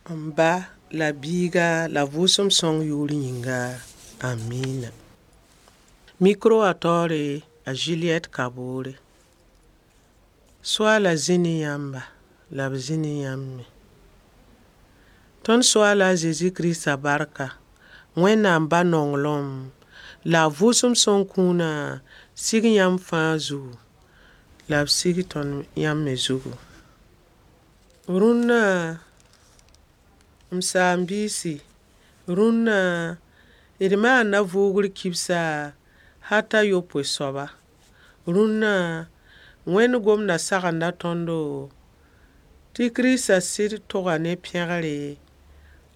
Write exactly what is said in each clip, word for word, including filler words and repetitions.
M ba la biiga la vʋʋsem sõng yu'ur yĩnga. Amiina. Micro wã taoore a Juliette Kabore. Soaala zĩ ne yãmba la b zĩ ne yãmb me. Tõnd Soaala a Zezi Kirista barka, Wẽnnaam Ba nonglem la a vʋʋsem sõng kũuna sig yãmb fãa zugu. La b sig tõnd yãmb me zugu. Rũnna, m saam-biisi, rũnna d maanda vʋʋgr kibsa hal t'a yopoe soaba. Rũnna, Wẽnd gomda sagenda tõndo tɩ Kirista sɩd tʋga ne pẽgre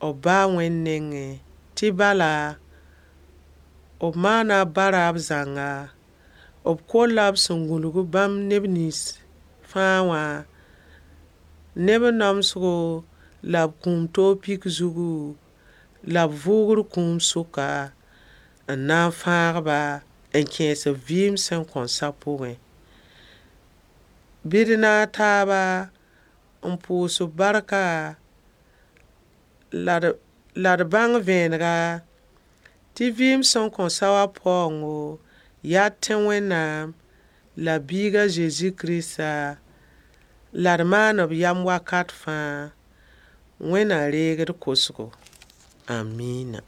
b ba a Wẽnd nengẽ, tɩ bala, b maana a ba-raab zãnga, b kolla b sẽn gũnug bãmb neb nins fãa wã ne b namsgo la b kũum toog pik zugu, la b vʋʋgr kũum sʋka n na n fãag-ba n kẽes-b vɩɩm sẽn kõn sa pʋgẽ. Bɩ d naag taaba n pʋʋs b barka la d la d bãng vẽenega tɩ vɩɩm sẽn kõn sa wã paoongo yaa d tẽ Wẽnnaam la biig a Zezi Kirista la d maan b yam wakat fãa. Wẽnd na reeg d kosgo. Amiina.